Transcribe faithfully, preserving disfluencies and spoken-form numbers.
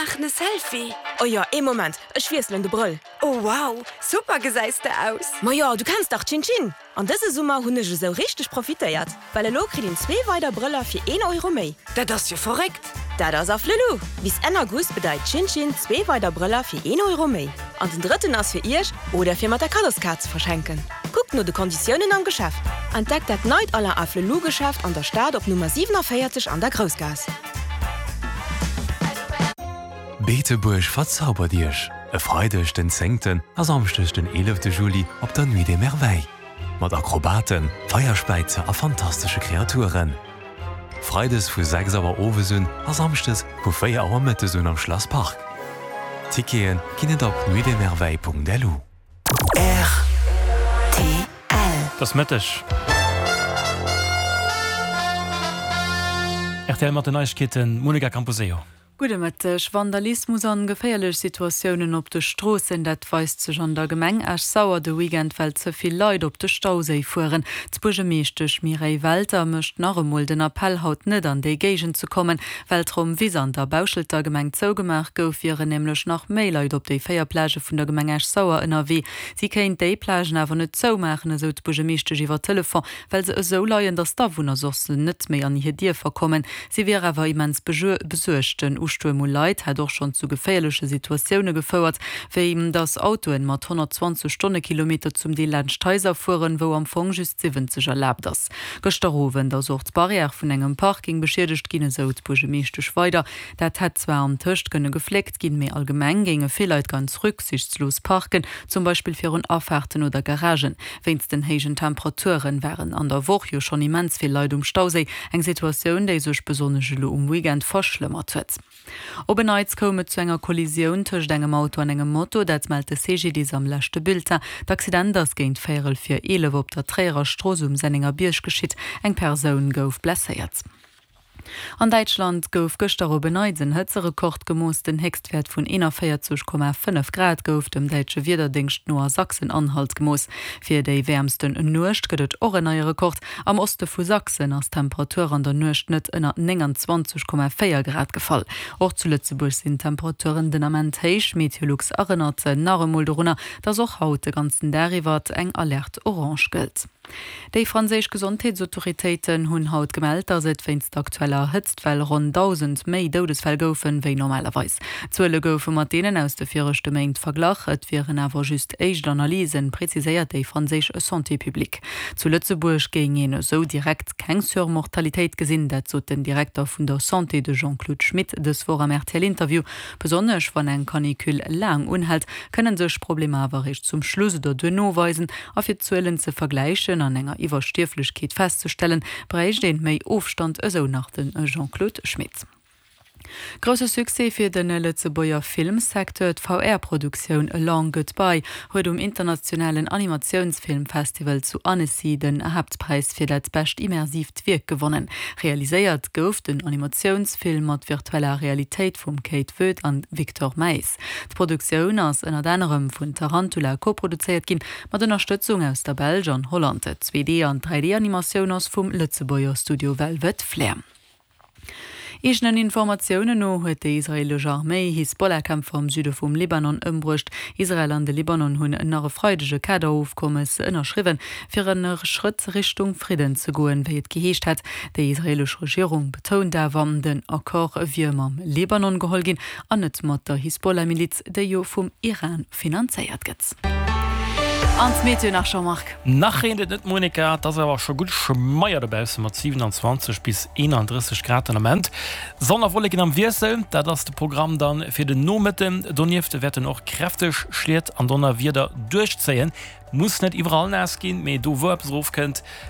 maachen e Selfie. Oh jo, ee Moment, ech wiesselen de Brëll. Oh wow, super gesäis de aus. Ma jo, du kenns dach Tschin-Tschin. An dëse Summer hunn ech esou richteg profitéiert, well elo kritt een zwee weider Brëller fir een Euro méi. Dat ass jo verréckt. Dat ass Afflelou! Bis Enn August bedeit Tschin-Tschin zwee weider Brëller fir een Euro méi. An den drëtten ass fir iech oder fir mat der Kaddoskaart ze verschenken. Kuckt no de Konditiounen am Geschäft. Entdeckt dat neit Alain Afflelou Geschäft an der Stad op Nummer siewenundvéierzeg an der Groussgaass. Beetebuerg verzaubert Iech! E Freideg den zéngten a Samschdeg den eelefte Juli op der Nuit des Merveilles. Mat Akrobaten, Feierspäizer a fantastesche Kreaturen. Freides vu sechs Auer owes un a Samschdes vu véier Auer mëttes un am Schlass Park. Tickete ginn et op nuitdesmerveilles.lu. Rtl. Et ass Mëtteg. Rtl mat den Neiegkeeten, Monica Camposeo. Gudde Mëtteg. Vandalismus an geféierlech Situatiounen op de Stroossen, dat weist sech an der Gemeng Esch-Sauer de Weekend, well ze vill Leit op de Stauséi fueren. D'Buergermeeschtesch Mireille Welter mécht nach emol den Appell, haut net an déi Géigend ze kommen. Well d'Rommwiss an der Bauschelter Gemeng zougemaach gouf, wieren nämlech nach méi Leit op déi véier Plagë vun der Gemeng Esch-Sauer ënnerwee. Si kéint déi Plagen awer net zoumaachen, esou d'Buergermeeschtesch iwwer Telefon, well se esou leien, datt d'Awunner soss net méi an hir Dierfer kommen. Si wier awer immens besuergt. Den Ustuerm u Leit hätt och schonn zu geféierleche Situatioune gefouert, wéi datt Autoen mat honnertzwanzeg Stonnekilometer zum Deel laanscht d'Haiser fueren, wou am Fong just siwwenzeg erlaabt ass. Gëschter Owend ass och d'Barrière vun engem Parking beschiedegt ginn, esou d'Buergermeeschtesch weider. Dat hätt zwar antëscht kënne gefléckt ginn, mee allgemeng géinge vill Leit ganz rücksichtslos parken, zum Beispill virun Afaarten oder Garagen. Wéinst den héijen Temperaturen waren an der Woch jo schonn immens vill Leit um Stauséi, eng Situatioun, déi sech besonnesch elo um Weekend verschlëmmert huet. Op en Neits koum et zu enger Kollisioun tëscht engem Auto an engem Moto, dat mellt de C G D I S am leschte Bulletin. D'Accident ass géint véierel vir eelef op der Tréierer Strooss um Sennengerbierg geschitt. Eng Persoun gouf blesséiert. An Däitschland gouf gëschter op en Neits en Hëtzerekord gemooss. Den Héchstwäert vun eenanvéierzeg Komma fënnef Grad gouf dem däitsche Wiederdéngscht no a Sachsen-Anhalt gemooss. Fir déi wäermsten Nuecht gëtt et och en neie Rekord. Am Oste vu Sachsen ass d'Temperatur an der Nuecht net ënner nénganzwanzeg Komma véier Grad gefall. Och zu Lëtzebuerg sinn d'Temperaturen den Ament héich. Meteolux erënnert nach emol dorunner, dass och haut de ganzen Dag iwwer eng Alerte orange gëllt. Déi franséisch Gesondheetsautoritéiten hunn haut gemellt, datt et wéinst der aktueller Hëtztwell ronn dausend méi Doudesfäll goufen, wéi normalerweis. D'Zuele goufe mat deenen aus de viregte Méint verglach, et wieren awer just éischt Analysen, preziséiert déi franséisch Santé publique. Zu Lëtzebuerg géing een esou direkt keng Surmortalitéit gesinn, dat sot den Direkter vun der Santé, de Jean-Claude Schmit, dës Woch am R T L-Interview. Besonnesch wann eng Canicule laang unhält, kënne sech Problemer awer eréischt zum Schluss oder duerno weisen. A fir d'Zuelen ze vergläichen an enger Iwwerstierflechkeet festzestellen, bräicht een méi Ofstand, esou nach de Jean-Claude Schmit. Grousse Succès fir de Lëtzebuerger Filmsecteur, D'V R-Produktioun A Long Goodbye huet um internationalen Animatiounsfilmfestival zu Annecy den Haaptpräis fir dat bescht immersiivt Wierk gewonnen. Realiséiert gouf den Animatiounsfilm mat virtueller Realitéit vum Kate Voet an Victor Maes. D'Produktioun ass ënnert anerem vun Tarantula koproduzéiert ginn, mat Ënnerstëtzung aus der Belsch an Holland. D'Zwee D an dräi D-Animatioun ass vum Lëtzebuerger Studio Velvet Flair. Eegenen Informatiounen no huet déi israeelesch Arméi Hisbollah-Kämpfer am Süde vum Libanon ëmbruecht. Israel an de Libanon hunn nach e Freideg e Kaderofkommes ënnerschriwwen, fir e Schrëtt Richtung Fridden ze goen, wéi et geheescht hat. Déi israeelesch Regierung betount awer, den Accord wier mam Libanon geholl ginn an net mat der Hisbollah-Miliz, déi jo vum Iran finanzéiert gëtt. An d'Meteo nach, Jean-Marc. Nach reent et net, Monica, et ass awer scho gutt schmeier dobausse mat siewenundzwanzeg bis eenandrësseg Grad den Ament. Sonn a Wolleken am Wiessel, dat ass de Programm dann fir den Nomëtten. Donieft wäerten och kräfteg Schliet an Donnerwieder duerchzéien. Muss net iwwerall naass ginn, mee do wou eppes erofkënnt,